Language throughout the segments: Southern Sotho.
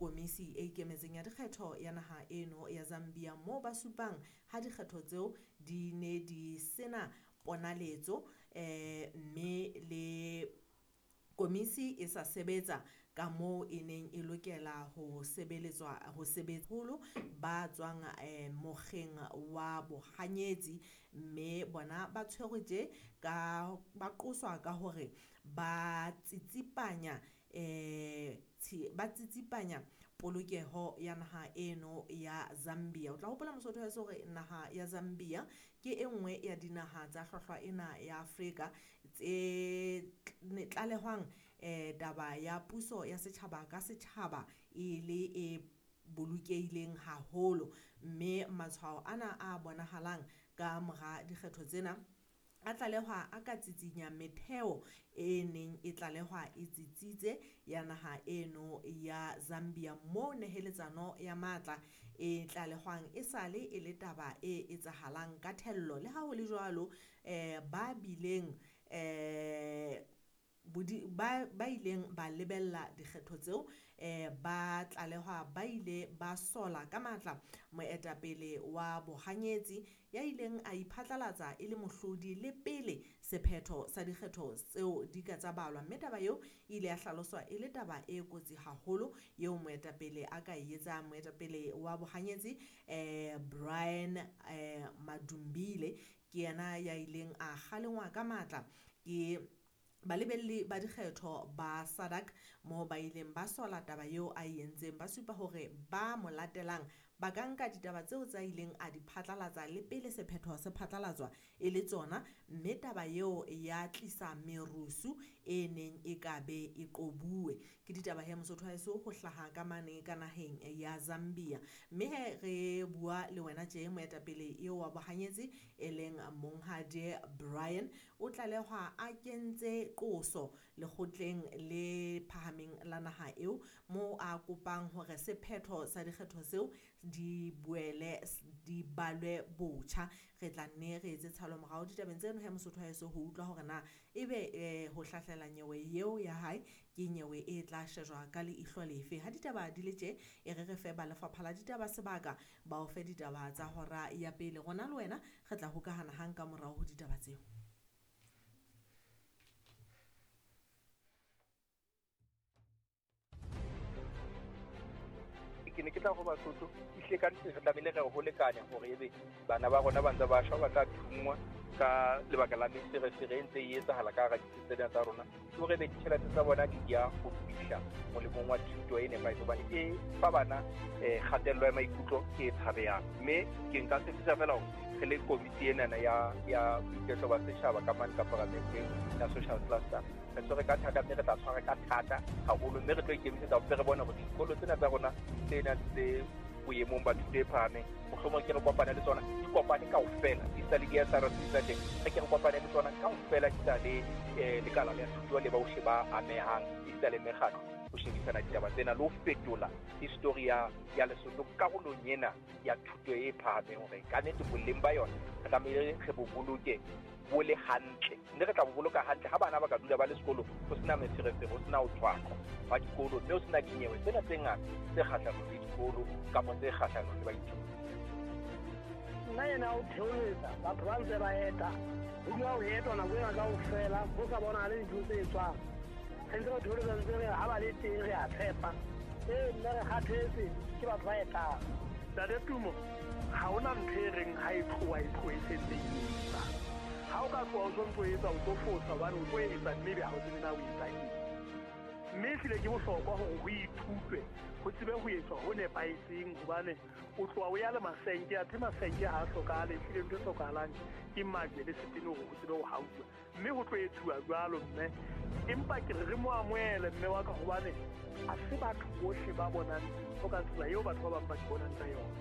Komisi e ikemetseng ya dikgetho ya naha eno ya Zambia moo ba supang ha dikgetho tseo di ne di sena ponaletso mme le komisi e sa sebetsa ka moo e neng e lokela ho sebeletswa ho sebetsaholo ba tswang mokgeng wa bohanyetsi mme bona ba tshwerwe tje ka ba qoswa ka hore ba tsitsipanya ba tsitsipanya polokeho ya naha eno ya Zambia. O tla hopola Mosotho wa hore naha ya Zambia ke e nngwe ya dinaha tsa hlwahlwa ena ya Afrika tse tlalehwang taba ya puso ya setjhaba ka setjhaba e le e bolokehileng haholo, mme matshwao ana a bonahalang ka mora dikgetho tsena a tlalehwa a ka tsitsinya metheo e neng e tlalehwa e tsitsitse ya naha eno ya Zambia moo neheletsano ya matla e tlalehwang e sale e le taba e etsahalang ka thello. Le ha ho le jwalo, ba bileng ba ileng ba lebella dikgetho tseo ba tlalehwa ba ile ba sola ka matla moetapele wa bohanyetsi ya ileng a iphatlalatsa e le mohlodi le pele sephetho sa dikgetho tseo di ka tsa balwa, mme taba eo e ile ya hlaloswa e le taba e kotsi haholo eo moetapele a ka e etsang. Moetapele wa bohanyetsi Brian Madumbile ke yena ya ileng a kgalengwa ka matla ke balebelli ba dikgetho ba SADC moo ba ileng ba sola taba eo a e entseng, ba supa hore ba mo latelang ba ka nka ditaba tseo tsa ileng a di phatlalatsa le pele sephetho se phatlalatswa e le tsona, mme taba eo ya tlisa merusu e neng e ka be e qobuwe. Ke ditaba he Mosotho wa heso ho hlaha ka mane ka naheng ya Zambia, mme he re bua le wena tje moetapele eo wa bohanyetsi e leng Monghadi Brian o tlalehwa a kentse qoso lekgotleng le phahameng la naha eo moo a kopang hore sephetho sa dikgetho tseo di boele di balwe botjha. Re tla nne re etse tshalo morao ditabeng tseno he Mosotho wa heso ho utlwa hore na ebe ho hlahlela nyewe eo ya hae ke nyewe e tla shejwa ka leihlo lefe. Ha ditaba di le tje, e re re fe ba lefapha la ditaba sebaka ba o fe ditaba tsa hora ya pele. Rona le wena re tla hokahana hang ka morao ho ditaba tseo. Ke ne ke tla go Basotho ehlile ka nnete re tlamehile re ho lekane hore ebe bana ba rona ba ntse ba shwa, ba tla thungwa ka lebaka la meferefere e ntse e etsahala ka hara ditsi tsena tsa rona, ke hore ebe ditjhelete tsa bona di ya ho fihla molemong wa thuto e nepahetseng, hobane e fa bana kgatello ya maikutlo e tshabehang. Mme ke nka tshepisa fela hore re le komiti enana ya boiketlo ba setjhaba ka mane ka paramenteng ya social cluster re tshwere ka thata, mme re tla tshwara ka thata haholo, mme re tlo ikemisetsa hore re bone hore dikolo tsena tsa rona tse nang tse boemong ba thuto e phahameng mohlomong ke re kopane le tsona, di kopane kaofela di sa le di-SRC tsa teng, re ke re kopane le tsona kaofela di sa le lekala la thuto le bohle ba amehang di sa le mekgatlo ho shebisana ditaba tsena le ho fetola history ya Lesotho karolong ena ya thuto e phahameng, hore ka nnete boleng ba yona re tlamehile re bo boloke bo le hantle, mme re tla bo boloka hantle ha bana ba ka dula ba le sekolo ho sena meferefere, ho sena ho tshwaqwa wa dikolo, mme ho sena dinyewe tsena tse ngata tse kgahlanong le dikolo kapa tse kgahlanong le baithuti. Nna ena o theoletsa batho ba ntse ba eta, ho dula ho etwa nako ena kaofela ho sa bonahale dintho tse etswang. Re ntse re theoletsa ntse re ha ba le teng re a tshepa, ee mme re kgathetse ke batho ba etang. Ntate Tumo, ha hona ntho e reng ha e tloha e tloha e sentse e etsa. Ha o ka tloha o sontso etsa o tlo fosa hobane o tlo etsa mme ebe ha o tsebe na o etsa eng. Mme ehlile ke bohlokwa hore ho ithutwe, ho tsebe ho etswa ho nepahetseng, hobane o tloha o ya le masenke, athe masenke ha a hlokahale, ehlile ntho e hlokahalang ke majwe le setene hore ho tsebe ho hauwa. Mme ho tlo etsuwa jwalo mme, empa ke re re mo amohele mme wa ka, hobane ha se batho bohle ba bonang dintho ka tsela eo batho ba bang ba di bonang ka yona.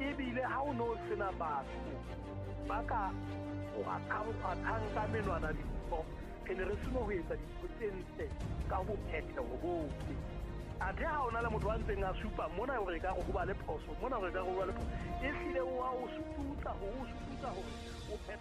Ebile ha o no sena batho ba ka kgwathang ka menwana dintho, re ne re seno ho etsa dintho tse ntle ka bophetheho bohle. Athe ha ona le motho a ntseng a supa mona hore ekare ho ba le phoso, mona hore ekare ho ba le phoso, ehlile o a o sututsa hore o sututsa hore o phetha.